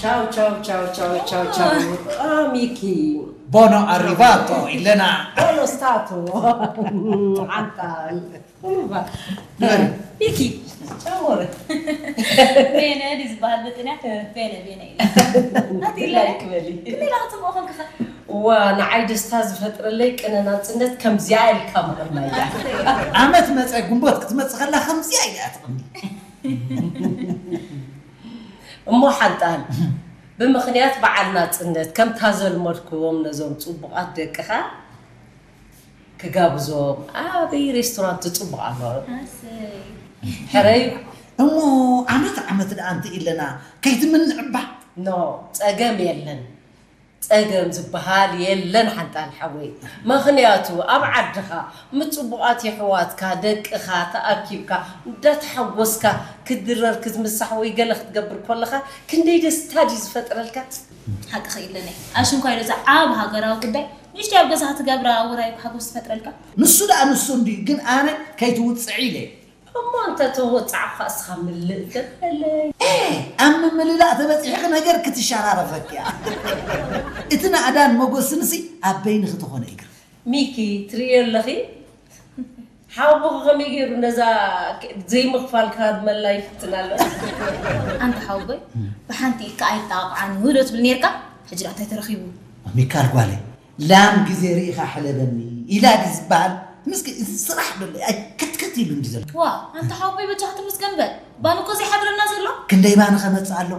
Ciao, ciao, ciao, ciao, ciao, ciao. Ah, Miki. Buono arrivato, Elena. Buono stato. Antal. Miki. Ciao, amore. ቤነ ድዩ ዝበሃል ብጥንያ? ቤነ ቤነ ኢለ። Like በሊ። ሌላ ክትምኦ ኮንክኻ? ዋ፣ ንዓይ ደስታ ዝፈጥረለይ ቅነ ናጽነት ከምዚኣ ኢልካ ምቕናይ እያ። ዓመት መፀ ጉንቦት ክትመፅእ ከላ ከምዚኣ ኢላ ትቕኒ። እሞ ሓንጣል፣ ብምኽንያት በዓል ናጽነት ከምታ ዘልመድክዎም ነዞም ጽቡቓት ደቅኻ ክጋብዞም ኣበይ ሬስቶራንት ጽቡቕ ኣሎ? ኣሰይ። ሕረይ። እሞ ዓመት ዓመት ደኣ እንተ ኢለና ከይትምንዕባ። ኖ፣ ጸገም የለን። ጸገም ዝበሃል የለን ሓንጣል ሓወይ። ምኽንያቱ ኣብ ዓድኻ ምስ ጽቡቓት የሕዋትካ ደቅኻ ተኣኪብካ እንዳተሓጎስካ ክትድረር ክትምሳሕ ወይ ገለ ክትገብር ከለኻ ክንደይ ደስታ ድዩ ዝፈጥረልካ? ሓቅኺ ኢለኒ ኣሽንኳይ ዶ እዛ ዓብ ሃገራዊ ጉዳይ ንእሽተይ ኣብ ገዛኻ ትገብራ ውራይ ሓጎስ ትፈጥረልካ። ንሱ ደኣ ንሱ እንድዩ፣ ግን ኣነ ከይትውፅዒ ኢለ። እሞ እንተ ተወጻዕካ እስኻ ምልእ ተበለይ። ኣብ ምምልላእ ተበፂሕኺ ነገር ክትሸራረፈኪ እያ። እቲ ናእዳን መጎስንሲ ኣብ በይንኺ ተኾነ እግር። ሚኪ ትርእዮ ኣለኺ? ሓውቦኺ ከመይ ገይሩ ነዛ ዘይምኽፋል ክሃድመላ ይፍትን ኣሎ። ኣንታ ሓውቦይ ብሓንቲ ኢድካ ኣይጣቕዓን ውህዶ ትብል ነርካ። ሕጂ ደኣ እንታይ ተረኺቡ? ሚካል ጓለይ፣ ላም ግዜ ርኢኻ ሕለበኒ ኢላ ድዩ ዝበሃል? ምስኪ እዚ ስራሕ ዶ ኣይ ከትከት ኢሉ እንዲ ዘሎ። ዋ ኣንታ ሓውቦይ በጃኻ ትምስገን በል። ባን እኮ ዘይሓድረና ዘሎ። ክንደይ ባን ከመፅእ ኣሎ?